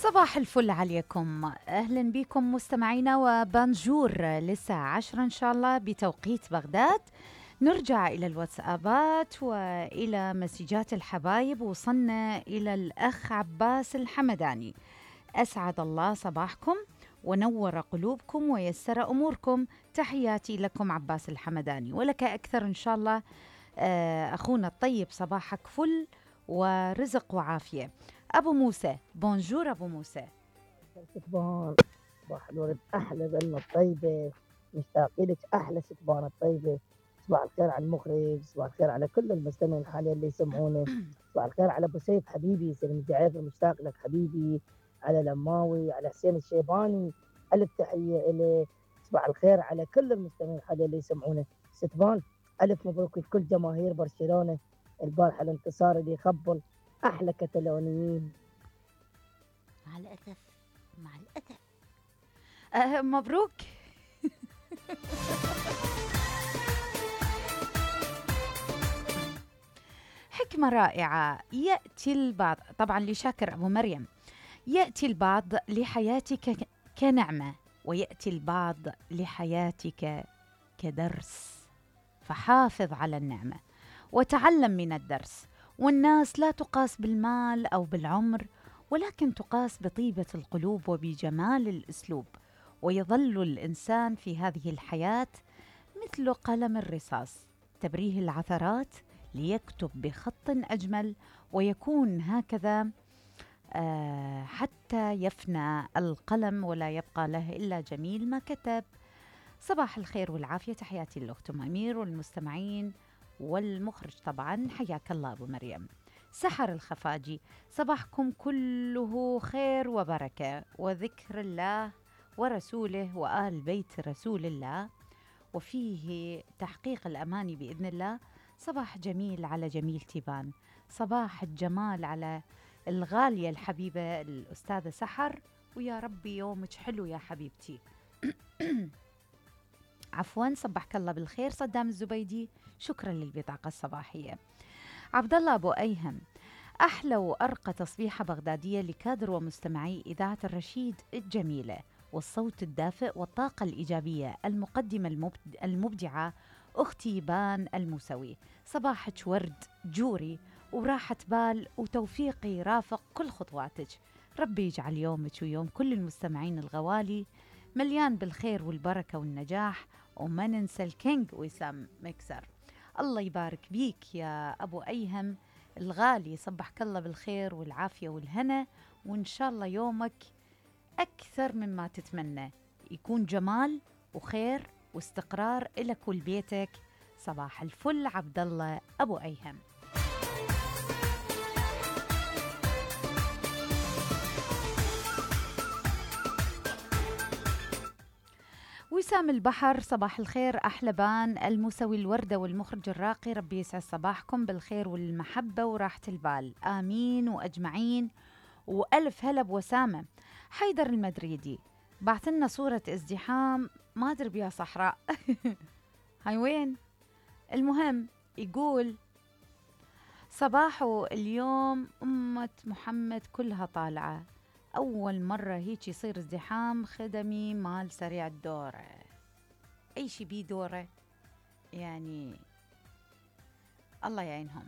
صباح الفل عليكم، أهلا بكم مستمعينا وبانجور للساعة 10 إن شاء الله بتوقيت بغداد. نرجع إلى الواتسابات وإلى مسجات الحبايب. وصلنا إلى الأخ عباس الحمداني. أسعد الله صباحكم ونور قلوبكم ويسر أموركم. تحياتي لكم عباس الحمداني ولك أكثر إن شاء الله. أخونا الطيب صباحك فل ورزق وعافية. أبو موسى بونجور. أبو موسى ستبان صباح الورد، أحلى ظلمة الطيبة، مشتاق لك أحلى ستبان الطيبة. صباح الخير على المخرج، صباح الخير على كل المستمعين حاليا اللي يسمعونا. صباح الخير على أبو سيف حبيبي، سلم جعيفر مشتاق لك حبيبي، على لماوي، على حسين الشيباني، ألف تحية إلي. صباح الخير على كل المستمعين حاليا اللي يسمعونا. ستبان ألف مبروك لكل جماهير برشلونة، البارحة الانتصار اللي يخبل أحلى كتالونيين. مع الأسف مع الأسف. مبروك. حكمة رائعة. يأتي البعض، طبعا لشاكر أبو مريم، يأتي البعض لحياتك كنعمة ويأتي البعض لحياتك كدرس، فحافظ على النعمة وتعلم من الدرس. والناس لا تقاس بالمال أو بالعمر، ولكن تقاس بطيبة القلوب وبجمال الأسلوب. ويظل الإنسان في هذه الحياة مثل قلم الرصاص، تبريه العثرات ليكتب بخط أجمل، ويكون هكذا حتى يفنى القلم ولا يبقى له إلا جميل ما كتب. صباح الخير والعافية، تحياتي للأخت أمير والمستمعين والمخرج طبعا. حياك الله أبو مريم. سحر الخفاجي، صباحكم كله خير وبركة وذكر الله ورسوله وآل بيت رسول الله، وفيه تحقيق الأماني بإذن الله. صباح جميل على جميل تيبان، صباح الجمال على الغالية الحبيبة الأستاذة سحر، ويا ربي يومك حلو يا حبيبتي. عفوا، صبحك الله بالخير صدام الزبيدي، شكرا للبطاقة الصباحية. عبد الله أبو أيهم، أحلى وأرقى تصبيحة بغدادية لكادر ومستمعي إذاعة الرشيد الجميلة، والصوت الدافئ والطاقة الإيجابية، المقدمة المبدعة أختي بان الموسوي. صباحك ورد جوري وراحة بال وتوفيقي رافق كل خطواتك. ربي يجعل يومك ويوم كل المستمعين الغوالي مليان بالخير والبركة والنجاح. وما ننسى الكينج وسام مكسر. الله يبارك بيك يا أبو أيهم الغالي، صبحك الله بالخير والعافية والهنا، وإن شاء الله يومك أكثر مما تتمنى، يكون جمال وخير واستقرار إلك ولبيتك. صباح الفل عبد الله أبو أيهم. وسام البحر، صباح الخير أحلى بان المسوي الوردة والمخرج الراقي، ربي يسعد صباحكم بالخير والمحبة وراحة البال، آمين وأجمعين. وألف هلا بوسامة. حيدر المدريدي بعث لنا صورة ازدحام، ما أدري بيا صحراء. هاي وين؟ المهم يقول صباحو اليوم أمة محمد كلها طالعة، أول مرة هيك يصير ازدحام خدمي مال سريع الدورة. أي شي بيه دورة يعني، الله يعينهم.